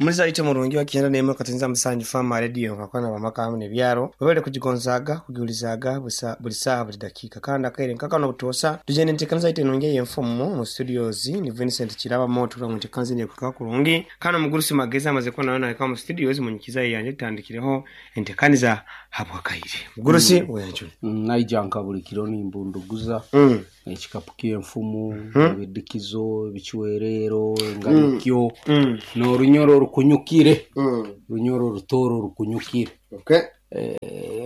Omuliza waitu omurungi wa 97 Farmer Radio nkakwana bamaka hamu n'ebyaro webale kugigonzaaga kugiwulizaaga buli saaha buli dakiika kandi akaire nkakano obutoosa tugenda enteekaniza yaitu enungi ey'enfumu mu studios ni Vincent Kiraba Moto mu nteekaniza enu ekuhikaho kurungi kandi omugurusi Magezi amaze kuba nawe nahika mu studios munyikiza yanje tutandikireho enteekaniza habwakaire mugurusi weyanjule. Naija nka buli kiro nimbunduguza ekikapu ky'enfumu, ebidikizo, ebicwereero, enganikyo, n'orunyoro orukunyukire, orunyoro orutooro orukunyukire. Okay.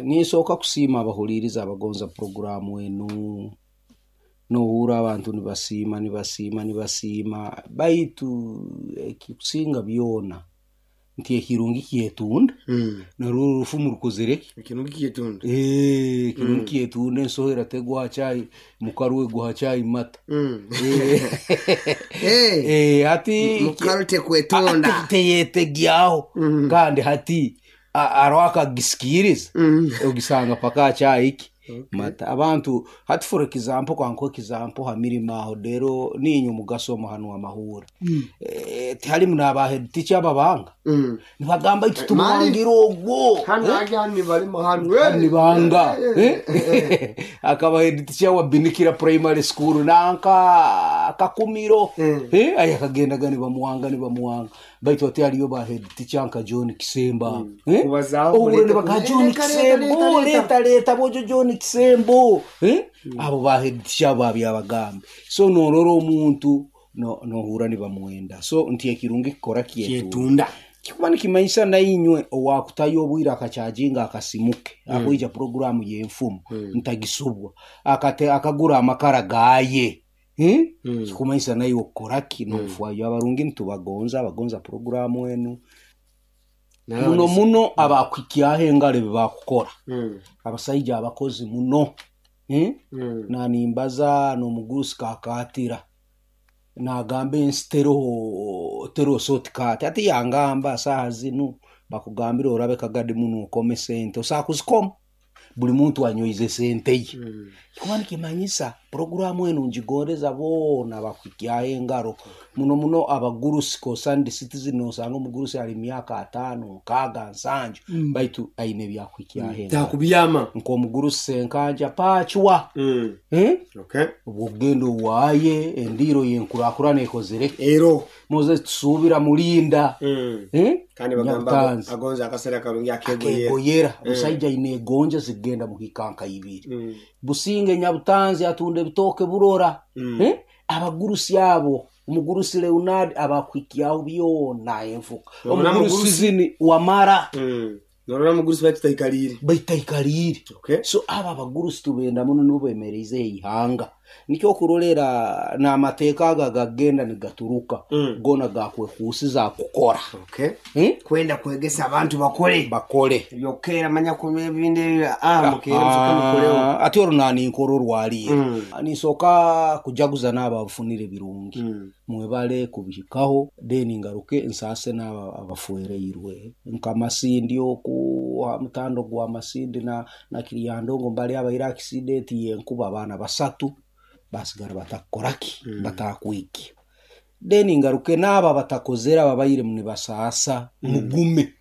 Ninsooka kusiima abahuliiriza abagonza puroguraamu enu, nohurra abantu nibasiima nibasiima nibasiima baitu ekikusinga byona nti ekirungi kyetunda, narwo orufumu rukozere ki? Ekirungi kyetunda. Ekirungi kyetunda ensohera tegwa ha chai mukaru egwa ha chai mata. Hati Mukaru tekwetunda. Teyetegyaho kandi hati aroho akagisikiriza ogisanga paka ha chai ki mata. Abantu hati for example kankuhe example ha mirimo aho rero niinywe mugasoma hanu amahuri. Tihalimu n'aba head teacher ababanga nibagamba itu tumuhangire ogwo. Hanu hajya hanu nibalima hanu. Nibanga akaba head teacher wa Binikira Primary School nanka Kakumiro aye akagendaga nibamuwanga nibamuwanga baitu ati haliyo ba head teacher nka John Kisemba. Kubazaho Ohure kuleta nibaka John leta, leta, Kisembo leta. leta leta bojo John Kisembo. Abo ba head teacher babyabagambe so norora omuntu nohura nibamwenda so nti ekirungi kikora kyetunda Kyetunda. Kikuba nikimanyisa nainywe owakutayo obwire akakyajinga akasimuke akwija puroguramu y'enfumu ntagisubwa akate akagura amakara gaye. Kikumanyisa naiwe okukoraki nofwayo abarungi nitubagonza abagonza puroguramu enu muno muno abakuhikyaho engaro ebi bakukora abasaija abakozi muno. Nanimbaza n'omugurusi kakatira nagamba ensi teroho teroho shortcut ati yangamba saaha zinu bakugambira orabe kagadi muno okome sente osobola kuzikoma buli muntu anyoize sente ye. Kikuba nikimanyisa puroguramu enu ngigondeza boona bakuhikyaho engaro muno muno abagurusi concerned citizen nosanga omugurusi ali myaka 5 6 7 baitu aine ebyakuhikyaho engaro. Takubyama. Nk'omugurusi Senkanja Pachwa. Okay. Obwokugenda owaaye endiiro yenkurakurana ekozere Ero. Moses tusuubira mulinda. Kandi bagamba Nyabutanzi. agonza akasera karungi akegoyera. Akegoyera. Omusaija aine egonja zigenda muhika nka ibiri. Businge Nyabutanzi atunda ebitooke burora. Abagurusi abo omugurusi Leonard abakuhikyaho byona enfuka. Norora Omugurusi mugurusi. zini wamara. Norora mugurusi baitaikalire. Baitaikalire. Okay. So aba abagurusi tubenda muno nibo bemereize eihanga. Nikyo okurolera n'amateeka aga gagenda nigaturuka gona gakwekuusiza kukora. Okay. Kwenda kwegesa abantu bakole. Bakole. Ebyokera manya kunywa ebindi mukere musoke mukoleho. Ati olwo naninkora orwaliire. Nisooka kujaguza n'abo abafunire birungi. Mwebale kubihikaho then ngaruke nsaase n'abo abafuereirwe nka Masindi oku ha mutando gwa Masindi na Kiryandongo mbali abaire accident y'enkuba abaana basatu basigara batakukoraki batakwiki. Then ngaruke n'abo abatakozere ababaire nibasaasa mugume.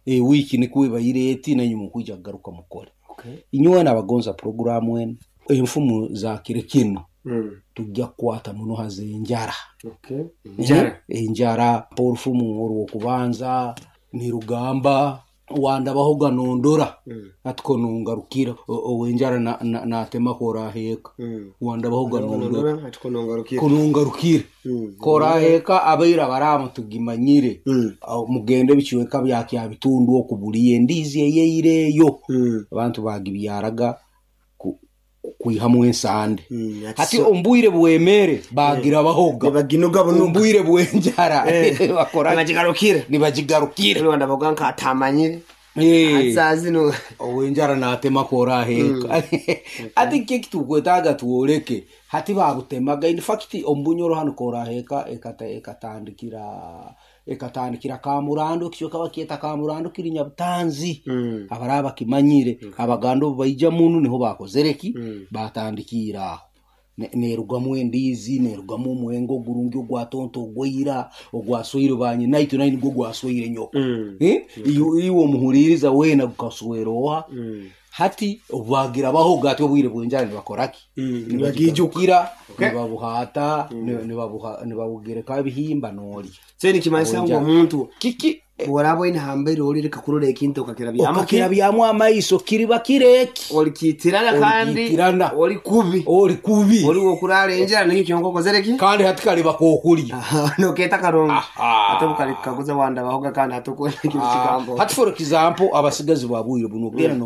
Wiiki nikwo ebaire eti nainywe mukwija kugaruka mukore. Okay. Inywe n'abagonza puroguramu enu enfumu za kiro kinu tujja kukwata muno haza enjara. Okay. Enjara. Enjara orufumu orw'okubanza nirugamba wandabaho ganondora ati konongarukira owenjara natema koraheka wandabaho ganondora ati konongarukira konongarukira koraheka abaira baramu tugimanyire. Mugende bicweka bya Kyabitundu okubuliya endiizi eyeireeyo abantu bagibyaraga kwihamu ensande. Hati ombwire bwemere bagira bahoga nibaginuga bunuga ombwire bwenjara bakora nibagigarukira nibagigarukira Rwanda bavuga nka atamanyire Azazi no owenjara natema koraheka ati kiki tukwetaga tuoleke hati babutemaga in fact ombunyoro hano koraheka ekatandikira Kamurando kicho kaba kieta Kamurando kiri Nyabutanzi. Abaraba kimanyire abaganda obu baija munu niho bakozereki batandikira aho. Neerugamu endiizi, neerugamu omwenge ogurungi ogwa tonto ogwaira, ogwasweire banyinaitwe, nawe nugwo gwasweire nyoko. Eh? Iwe omuhuliiriza weena gukaswera oha? Hati obu bagirabahoga ati obwire bw'enjara nibakora ki? Nibagiijukira. Nibagigarukira, nibabuhaata, nibabugerekaho ebihimba noolya. So nikimanyisa ngu Obwenjara. Omuntu Kiki bw'oraaba oine hambere oli, leka kurora ekintu okakirabyamu. Okakirabyamu amaiso kiriba kireki. Olikiitirana kandi Olikiitirana. Oli kubi. Oli kubi. Oli wokuraara enjara nikyo kyonka okozere ki? Kandi hati kaliba kokulya. Nokeeta karungi. Aha. Ate obukalikukaguza wandabahoga kandi hati okwenda kintu kigambo. Hati for example, abasigazi ba bwire buno ogenda.